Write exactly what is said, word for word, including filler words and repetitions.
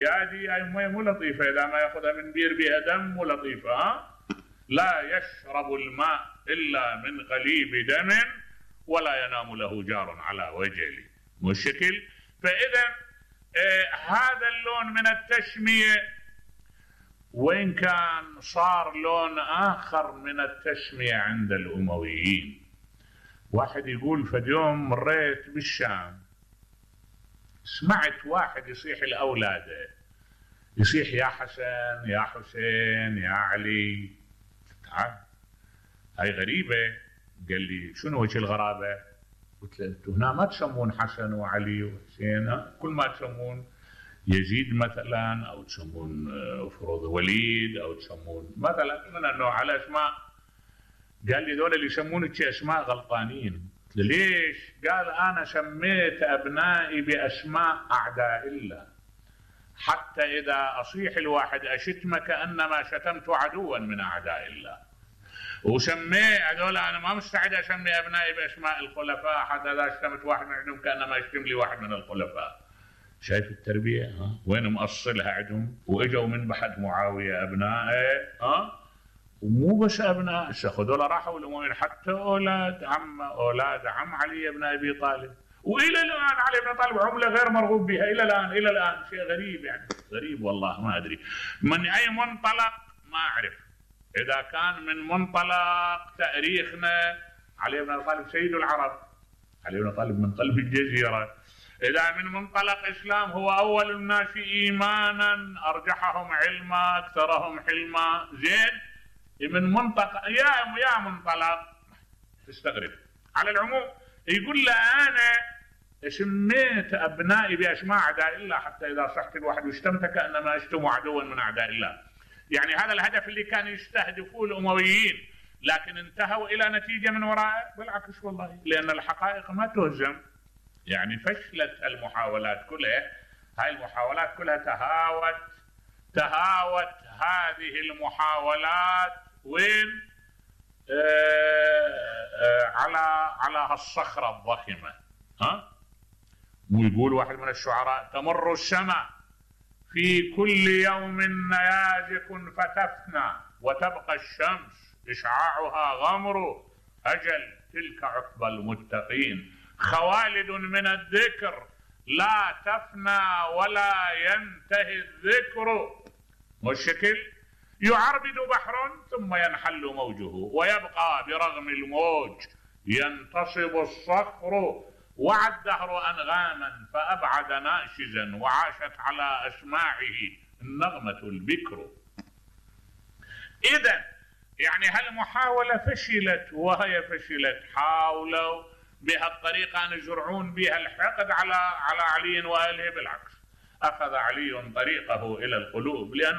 هذه هاي مي مو لطيفه، اذا ما ياخذها من بير بها دم مو لطيفه. ها لا يشرب الماء الا من قليب دم ولا ينام له جار على وجل. مشكل. فاذا آه هذا اللون من التشميه، وإن كان صار لون آخر من التسمية عند الأمويين. واحد يقول فد يوم مريت بالشام، سمعت واحد يصيح لأولاده، يصيح يا حسن يا حسين يا علي. تعال هاي غريبة. قال لي شنو وجه الغرابة؟ قلت له انتم هنا ما تسمون حسن وعلي وحسين، كل ما تسمون يزيد مثلا او تسمون فروض وليد او تسمون مثلا من النوع على اسماء. قال لي ذول اللي يسمونك اسماء غلطانين. قلت له ليش؟ قال انا سميت ابنائي باسماء اعداء الله، حتى اذا اصيح الواحد اشتمه كانما شتمت عدوا من اعداء الله. وسمي هذول انا ما مستعد اسمي ابنائي باسماء الخلفاء، حتى اذا شتمت واحد منهم كانما يشتم لي واحد من الخلفاء. شايف التربية؟ ها وين مؤصلها عندهم؟ واجوا من بعد معاوية ابنائه، ها ومو بس ابناء، هذول راحوا الامويين حتى اولاد عم اولاد عم علي بن ابي طالب، والى الان علي بن طالب عمله غير مرغوب بها الى الان الى الان شيء غريب يعني غريب والله ما ادري من اي منطلق ما اعرف. اذا كان من منطلق تاريخنا علي بن طالب سيد العرب، علي بن طالب من قلب الجزيرة. إذا من منطلق إسلام هو أول الناس إيمانا، أرجحهم علما، أكثرهم حلما. زين من منطق يا يا منطلق تستغرب. على العموم يقول له أنا سميت أبنائي بأسماء أعداء الله، حتى إذا صحت الواحد واشتمت كأنما أشتم عدوا من أعداء الله. يعني هذا الهدف اللي كان يستهدفوه الأمويين، لكن انتهوا إلى نتيجة من وراءه بالعكس والله، لأن الحقائق ما تهزم. يعني فشلت المحاولات كلها، هاي المحاولات كلها تهاوت تهاوت هذه المحاولات وين؟ آه آه على على هالصخرة الضخمة. ها ويقول واحد من الشعراء تمر السماء في كل يوم نيازك فتفنى، وتبقى الشمس إشعاعها غمر، أجل تلك عقبى المتقين، خوالد من الذكر لا تفنى ولا ينتهي الذكر. والشكل يعربد بحر ثم ينحل موجه، ويبقى برغم الموج ينتصب الصخر، وعى الدهر أنغاما فأبعد ناشزا، وعاشت على أسماعه النغمة البكر. إذن يعني هالمحاولة فشلت، وهي فشلت حاولوا بهالطريقة أن يزرعون بها الحقد على على علي وآله. بالعكس أخذ علي طريقه إلى القلوب، لأن